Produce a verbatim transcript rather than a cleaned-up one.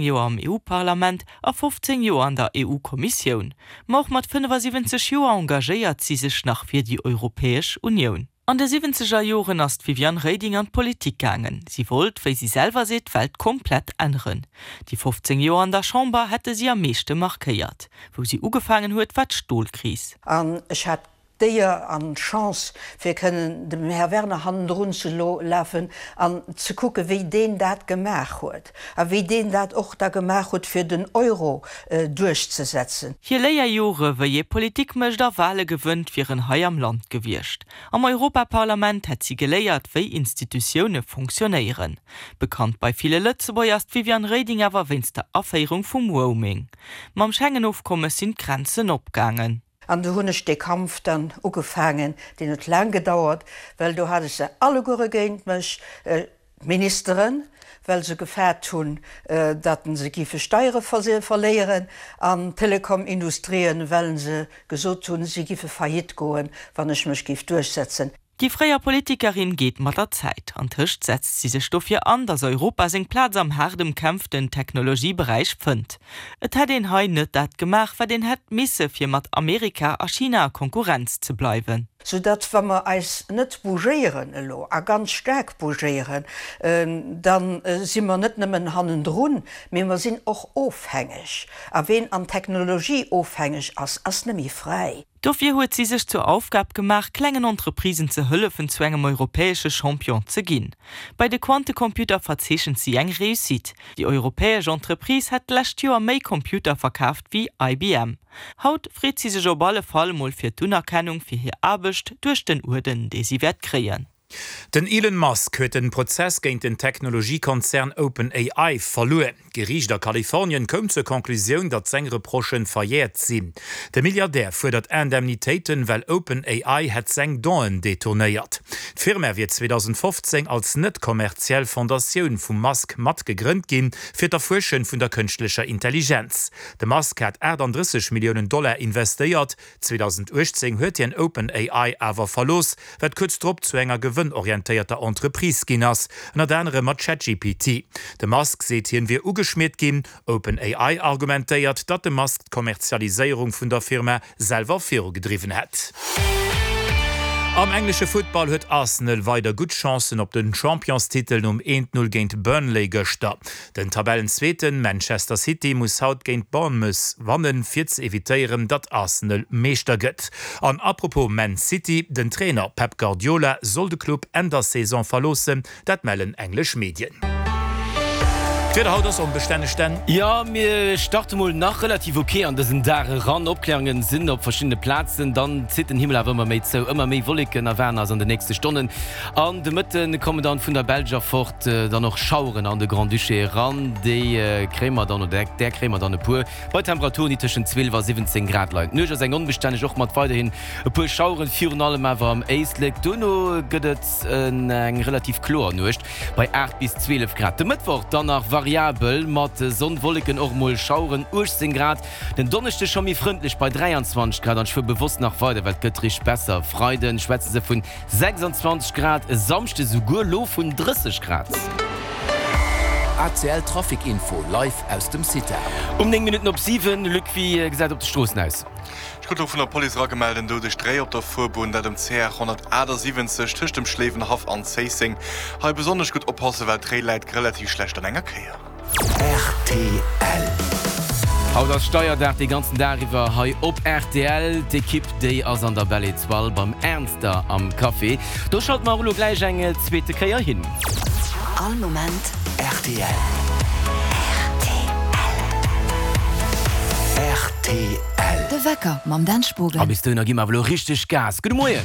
Joer am EU-Parlament a fofzéng Joer an der EU-Kommissioun. Ma och mat fënnefasiwwenzeg Joer engagéiert si sech nach fir déi Europäesch Unioun. An de siwwenzeger Joren ass d'Viviane Reding an d'Politik gaangen. Si wollt, wéi si selwer seet, d'Welt komplett änneren. Déi fofzéng Joer an der Chamber hätte si am meeschte markéiert. Wou si ugefaangen huet, war d'Stolkris. An ech hat d'Éier an d'Chance, fir kënnen dem Här Werner hannendrun ze lafen an ze kucken, wéi deen dat gemaach huet a wéi deen dat och da gemaach huet, fir den Euro duerchzesetzen. Hir Léierjore wéi ee Politik mécht a Wale gewënnt, wieren hei am Land gewiescht. Am Europaparlament hätt si geléiert, wéi Institutioune fonctionnéieren. Bekannt bei ville Lëtzebuerger ass d'Viviane Reding awer wéinst der Aféierung vum Roaming. Mam Schengen-Ofkommes sinn d'Grenzen opgaangen. An du hunn ech dee Kampf dann ugefaangen, deen huet laang gedauert, well do hat ech se alleguere géint mech, d'Ministeren, well se gefaart hunn, datt se géife Steiere verléieren, an d'Telekomindustrien, well se gesot hunn, si géife faillite goen, wann ech mech géif duerchsetzen. Déi fréier Politikerin geet mat der Zäit. Antëscht setzt si sech dofir an, datt Europa seng Plaz am haart ëmkämpften Technologieberäich fënnt. Et hätt een hei net dat gemaach, wat een hätt misse fir mat Amerika a China a Konkurrenz ze bleiwen. Soudatt, wa mer eis net bougéieren elo, a ganz staark bougéieren, da si mer net nëmmen hannendrun, mee mer sinn och ofhängeg. A ween an Technologie ofhängeg ass, ass net méi fräi. Dofir huet si sech zur Aufgab gemaach, klengen Entreprisen ze hëllefen, zu engem europäesche Champion ze ginn. Bei de Quantecomputer verzeechent si eng Réussite, Déi europäesch Entreprise hätt d'lescht Joer méi Computer verkaaft wéi I B M. Haut freet si sech op alle Fall mol fir d'Unerkennung fir hir Aarbecht duerch den Uerden, dee si wäert kréien. Den Elon Musk huet den Prozess géint den Technologiekonzern OpenAI verluer. D'Geriicht a Kalifornien koum zur Conclusioun, datt seng Reprochen verjährt sinn. De Milliardär fuerdert Indemnitéiten, well OpenAI hätt seng Don'en detournéiert. D'Firma wier zweedausendfofzéng als net kommerziell Fondatioun vum Musk matgegrënnt ginn, fir d'Erfuerschen vun der kënschtlecher Intelligenz. De Musk hat achtandrësseg Milliounen Dollar investéiert. zweedausenduechtzéng huet hien OpenAI awer verlooss, wat kuerz drop zu enger gewënnorientéierter Entreprise ginn ass, ënnert anerem mat ChatGPT. De Musk seet, hien wier ugeschmiert ginn. OpenAI argumentéiert, datt de Musk d'Kommerzialiséierung vun der Firma selwer virugedriwwen hätt. Am englesche Futtball huet Arsenal weider gutt Chancen op den Championstitel nom eent Null géint Burnley gëschter. Den Tabellenzweeten Manchester City muss haut géint Bournemouth wannen, fir ze evitéieren, datt Arsenal Meeschter gëtt. An apropos Man City, den Trainer Pep Guardiola soll de Club Enn der Saison verloossen, dat mellen englesch Medien. D'Wieder haut ass onbestänneg, denn. Jo, mir starte mol nach relativ ok an dësen Dag eran. Opkläerungen sinn op verschiddene Plazen, dann zitt den Himmel awer ëmmer méi zou. Ëmmer méi Wolleken erwaarden eis an de nächste Stonnen. An de Mëtte kommen dann vun der Belsch erfort dann och Schaueren an de Grand-Duché eran. Déi kréie mer dann, oder där kréie mer dann e puer, bei Temperaturen, déi tëschent zwielef a siwwenzéng Grad leien. D'Nuecht ass eng onbestänneg, och mat weiderhin e puer Schaueren, virun allem awer am Éislek. Dono gëtt et eng relativ kloer Nuecht bei aacht bis zwielef Grad. De Mëttwoch dann nach variabel mat Sonn, Wolleken, och mol Schaueren, uechtzéng Grad. Den Donneschde scho méi frëndlech bei dräianzwanzeg Grad an ech fuer bewosst nach weider, well et gëtt richteg besser. Freiden schwätze se vun sechsanzwanzeg Grad, e Samschde souguer lo vun drësseg Grad. A C L Trafic Info live aus dem CITA. Um néng Minutten op siwen, Luc, wéi gesäit op de Stroossen aus? Ech krut elo vun der Police eragemellt, en doudegt Réi op der Fuerbunn, dat um C R honnertachtasiwwenzeg tëscht dem Schléiwenhaff an Zéisseng. Hei besonnesch gutt oppassen, well d'Réi läit relativ schlecht an enger Kéier. R T L. Haut ass Steierdag de ganzen Dag iwwer hei op R T L. D'Ekipp déi ass an der Belle Étoile beim Ernster am Café. Do schalte mer och elo gläich eng zweete Kéier hin. All Moment R T L. R T L. De Wecker mam Dan Spogen. A bis dohinner gi mer awer elo richteg Gas. Gudde Moien.